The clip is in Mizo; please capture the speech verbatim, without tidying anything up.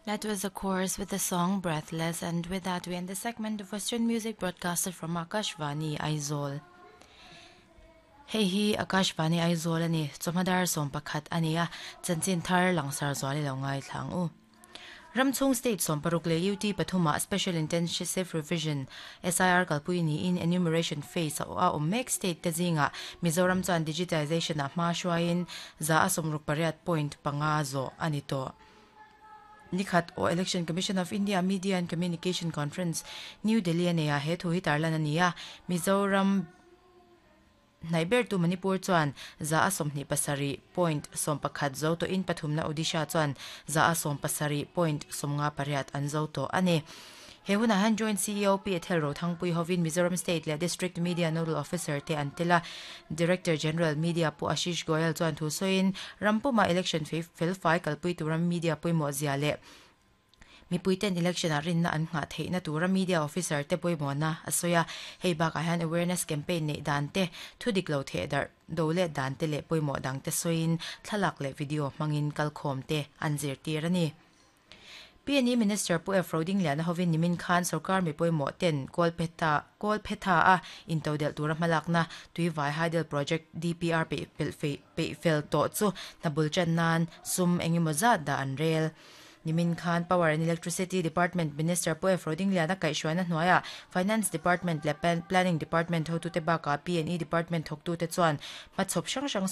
That was the chorus with the song Breathless, and with that we end the segment of Western music broadcasted from Akashvani Aizawl. Hei hi Akashvani Aizawl ani chawhma dar sawm pakhat ania chanchin thar langsar zuali lo ngai thlang u. Ramchhung State sawm paruk leh U T pathuma Special Intensive Revision S I R kalpui niin enumeration phase a awm mek state te zinga Mizoram chuan digitization a hma hruaiin za a sawmruk pariat point panga zawh ani tawh. Nikhat o Election Commission of India Media and Communication Conference New Delhi ania he thu hi tarlan ania Mizoram Naiber tu Manipur chuan za a sawmhnih pasarih point sawm pakhat zo to in pathumna Odisha chuan za a sawm pasarih point sawmnga pariat an zo to ani. He huna han joint C E O P Ethel Rothangpui hovin Mizoram State le District Media Nodal Officer te antela Director General Media pu Ashish Goyal chuan thu soin Rampuma election fel fai kalpui turam media puimo zia le mipuiten election a rinna an nga theina tura media officer te poimona asoya hei bak a han awareness campaign nei dan te thudik lo the dar dole dan te le poimo dang te soin thlalak le video mangin kalkhom te anzir tir ani. P N E Minister Pu F Roding Liana hovin nimin khan sarkar mi poimo ten Kolpeta Kolpetha a intodel tura malakna tuivai hydel project D P R pe pel fe pe fel to chu nabul chan nan sum engemaw da an rel. Nimin Khan Power and Electricity Department Minister Pu F Roding Liana kaihruaina hnuaia Finance Department le Planning Department hotu te baka P N E Department thawktu te chuan hmachhawp hrang hrang